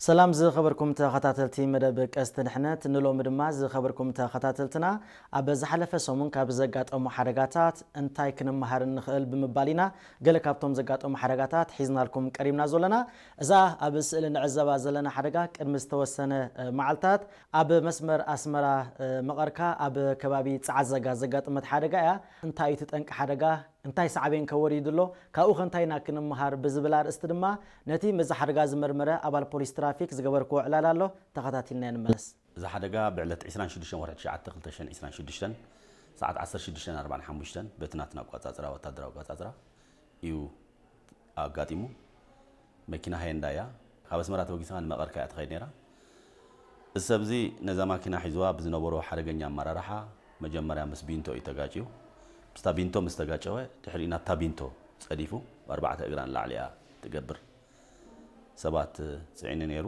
ሰላም ዝኸበርኩም ተኸታተልቲ መደብ ቀስት ድሕነት፣ ንሎሚ ድማ ዝኸበርኩም ተኸታተልትና ኣብ ዝሓለፈ ሰሙን ካብ ዘጋጠሙ ሓደጋታት እንታይ ክንመሃር ንኽእል ብምባል ኢና ገለ ካብቶም ዘጋጠሙ ሓደጋታት ሒዝናልኩም ቀሪብና ዘለና። እዛ ኣብ ስእሊ ንዕዘባ ዘለና ሓደጋ ቅድሚ ዝተወሰነ መዓልታት ኣብ መስመር ኣስመራ መቐርካ ኣብ ከባቢ ጸዓዘጋ ዘጋጠመት ሓደጋ እያ። እንታይ እዩ እቲ ጠንቂ ሓደጋ? እንታይ ሳዕቤን ከ ወሪዱ ኣሎ? ካብኡ ከ እንታይ ኢና ክንመሃር ብዝብል ኣርእስቲ ድማ ነቲ ምስዚ ሓደጋ ዝመርመረ ኣባል ፖሊስ ትራፊክ ዝገበርክዎ ዕላል ኣሎ። ተኸታቲልና ንመለስ። እዚ ሓደጋ ብዕለት ዕስራን ሽዱሽተን ወርሒ ትሽዓተ ክልተ ሽሕን ዕስራን ሽዱሽተን ሰዓት ዓሰርተ ሽዱሽተ ኣርባዓን ሓሙሽተን በቲ ናትና ኣቋጻጽራ፣ ወታደራዊ ኣቋጻጽራ እዩ ኣጋጢሙ። መኪና ሃየንዳ እያ። ካብ ኣስመራ ተበጊሳ ንመቐርካ እያ ትኸይድ ነይራ። እዚ ሰብ እዚ ነዛ ማኪና ሒዝዋ ብዝነበሮ ሓደገኛ ኣመራርሓ መጀመርያ ምስ ቢንቶ እዩ ተጋጭዩ። ምስታ ቢንቶ ምስ ተጋጨወ ድሕሪኡ ናብታ ቢንቶ ጸዲፉ ብኣርባዕተ እግራ ንላዕሊ እያ ትገብር ሰባት ጽዒኑ ነይሩ።